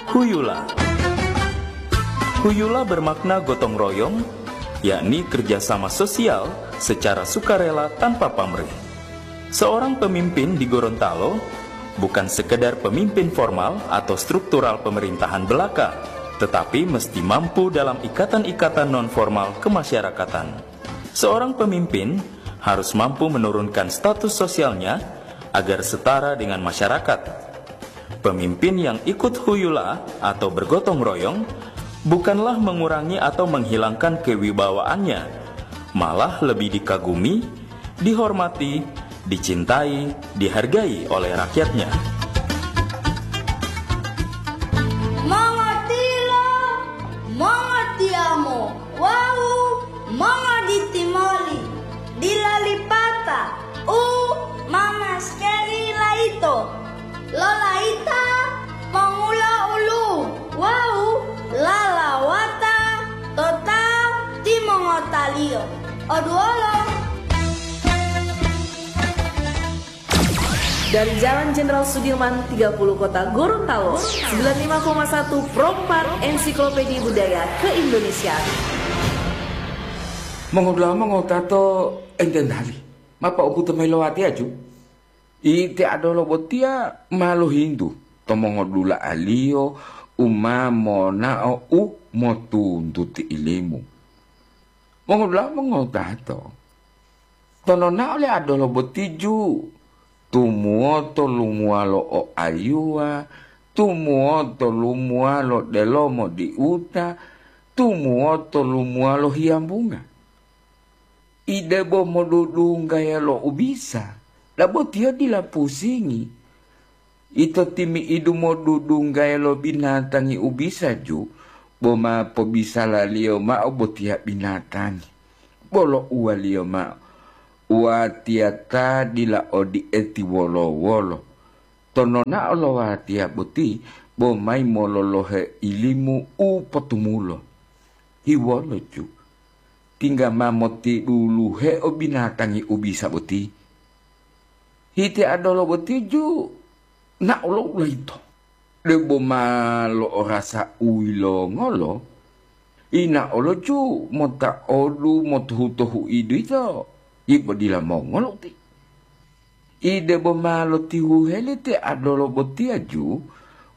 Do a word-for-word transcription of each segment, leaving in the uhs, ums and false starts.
Huyula. Huyula bermakna gotong royong, yakni kerjasama sosial secara sukarela tanpa pamrih. Seorang pemimpin di Gorontalo bukan sekedar pemimpin formal atau struktural pemerintahan belaka, tetapi mesti mampu dalam ikatan-ikatan nonformal kemasyarakatan. Seorang pemimpin harus mampu menurunkan status sosialnya agar setara dengan masyarakat. Pemimpin yang ikut huyula atau bergotong royong bukanlah mengurangi atau menghilangkan kewibawaannya, malah lebih dikagumi, dihormati, dicintai, dihargai oleh rakyatnya. Mongotilo, mongotiyamo, wawu mongoditimoli, dila lipata u ma maskeri layito. Lolayita mongulo ulu wawu lalawata to ta timongotaliyo. Oduwolo. Dari Jalan Jenderal Sudirman tiga puluh Kota Gorontalo, sembilan lima koma satu Pro empat Ensiklopedia Budaya Keindonesiaan. Mongodula'a mongotato enten hali, mapa umbuto mayi lo watiya ju? Ite adolo botiya ma lohintu to mongodula'aliyo u ma monao u motuntuti ilimu. Mongodula'a mongotato, to nonao le adolo boti ju, tumuwoto lumuwalo o ayuwa, tumuwoto lumuwalo delomo diuta, tumuwoto lumuwalo hiyambunga. Ide bo modudunggaya lo ubisa, dabo tiyo dila pusingi. Ito timi'idu modudunggaya lo binatangi ubisa ju, bo ma pobisalaliyo mao botiya binatangi. Bolo uwaliyo mao, watiya ta dila odi'eti wolo-wolo. To nonao lo watiya boti, bo mayi mololohe ilimu u potumulo. Hiwolo ju, tingga ma motiduluhe o binatangi ubisa boti. Hiti adolo boti ju nao lo ulayito, debo ma lo'orasa u yilongolo, inaolo ju mota odu motohu-tohu idu yito, yibo dila mongolo uti. Ide bo ma lotihuheli te adolo botiya ju,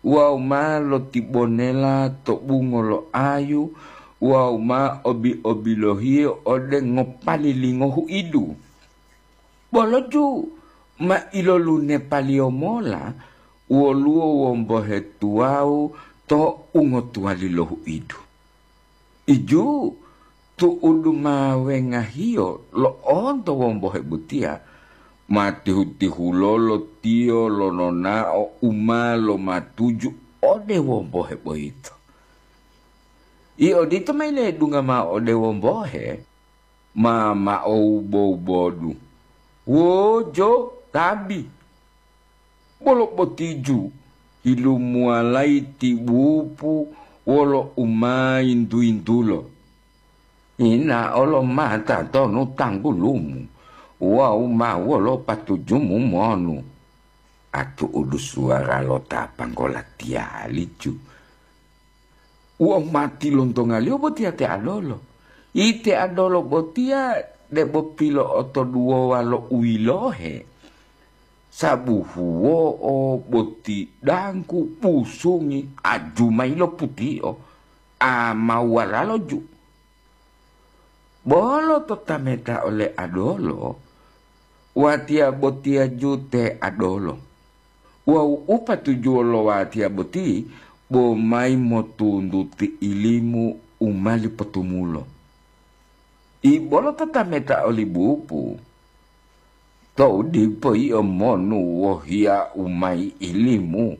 wawu ma lotibonela to bungo lo ayu, wawu ma obi-obilohiyo ode ngopali lingo huidu. Bolo ju ma ilolunepaliyo mola woluwo wombohe tuwawu to ungotuwali lo huidu. Iju tu'udu ma wengahiyo lo'onto wombohe botiya, ma tihu-tihulolo tiyo lononao u ma lomatuju ode wombohe boyito. I odito mayi ledungga mao ode wombohe, ma mao wubo-wubodu. Wojo, tabi! Bolo botiju, yilumuwalayi ti bupu wolo umayintu-yintulo. Yinaolo mata tonu tanggulumu wawu ma wolo patujumu monu. Atu'udu suwara lo ta panggola tiyalicu. Wawu ma tilontongaliyo botiya te adolo. Ite adolo botiya debo pilo'otoduwowa lo u yilohe. Sabuhuwo'o boti dangku pusungi ajumayi lo putiyo, amawalalo ju. Bolo to tameta ole adolo, watiya botiya ju te adolo. Wawu u patujuwo lo watiya boti bo mayi motuntuti ilimu u mali potumulo. Ibolo tatameta oli bupu, tou dipo yio monu wohiya-U mayi ilimu,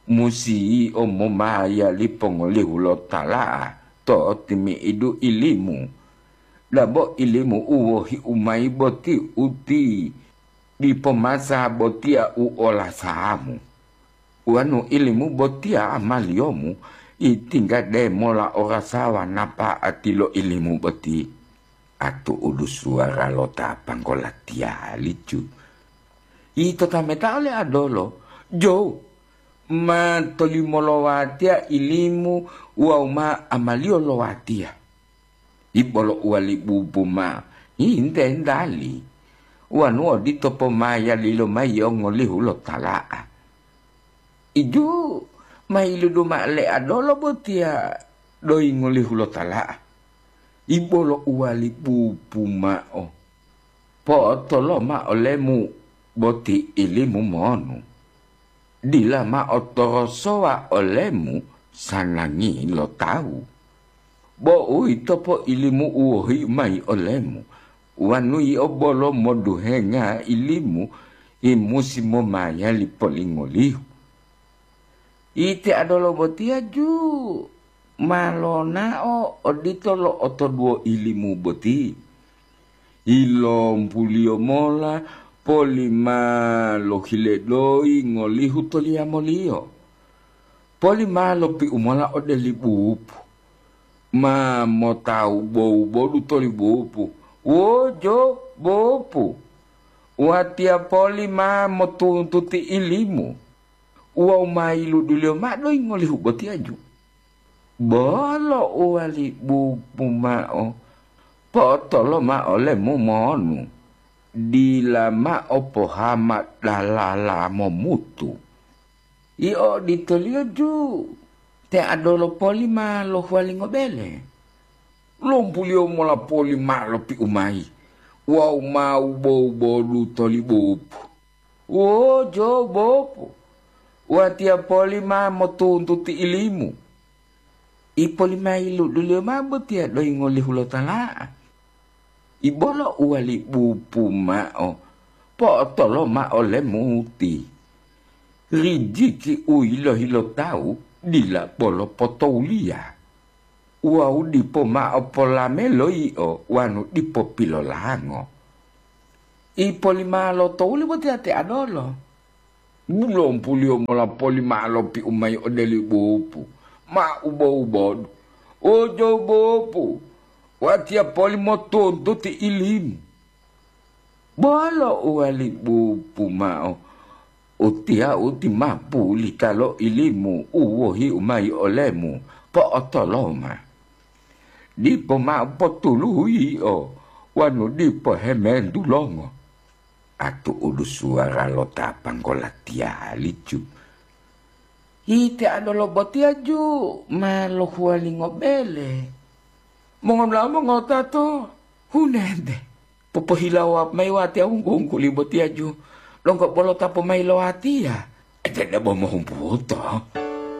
musi yio momayali pongolihu lo tala'a to timi'idu ilimu. Dabo ilimu u wohi-U mayi boti uti dipo masa botiya u olasamu. Wonu ilimu botiya amaliyomu, itingga demola orasawa napa'ati lo ilimu boti. Atu'udu suwara lo ta panggola tiyalicu. Ito tameta ole adolo, jo, ma tolimo lo watiya ilimu wawu ma amaliyo lo watiya. Ibolo uwali bubu ma'o, hinte ntali, wonu odito pomayaliyo mayi yio ngolihu lo tala'a. Iju ma yiludu ma'o le adolo botiya doyi ngolihu lo tala'a. Ibolo uwali bubu ma'o, po'otoloma olemu boti ilimu monu. Dila mao torosowa olemu sanangi lo tawu. Bo uwito poilimu u wohi mayi olemu, wonu yio bolo moduhenga ilimu, yi musi momayali polingolihu. Ite adolo botiya ju ma lonao odito lo otoduwo ilimu boti. Ilompuliyo mola poli ma lohile doyi ngolihu toliyamoliyo. Poli ma lopiu mola ode li bupu. Ma motawubo-wubodu toli bupu. Wojo bupu. Watiya poli ma motuntuti ilimu. Wawu ma yiluduliyo mao doyi ngolihu botiya ju. Bolo uwali bubu ma'o, po'otoloma olemu monu, dila mao pohama dalala momutu. Yio oditoliyo ju, te adolo poli ma lohuwalingo bele. Lompuliyo mola poli mao lopiu mayi, wawu ma wubo-wubodu toli bupu. Wojo bopu, watiya poli ma motuntuti ilimu. Ipolimayi luduliyo mao botiya doyi ngolihu lo tala'a. Ibolo uwali bupu mao, po'otoloma olemuti. Rijiki u yilohi lo tawu dila bolo potowuliya. Wawu dipo mao polame loyio wonu dipo pilolango. Ipolima lo towuli botiya te adolo. Bulompuliyo mola poli mao lopiu mayi ode li bupu, ma ubo-ubodu. Ojo bupu, watiya poli motuntuti ilimu. Bolo uwali bupu mao, utiya uti ma pulita lo ilimu u wohiu mayi olemu, po'otoloma. Dipo mao potuluhu yio, wonu dipo hemendulongo. Atu'udu suwara lo ta panggola tiyali ju. Ite adolo botiya ju ma lohuwalingo bele. Mongola mongota to hunente. Popohilawo mayi watiya wunggu-wungguli botiya ju, donggo bolo ta pomayi lo watiya. Ete debo mohumbuto.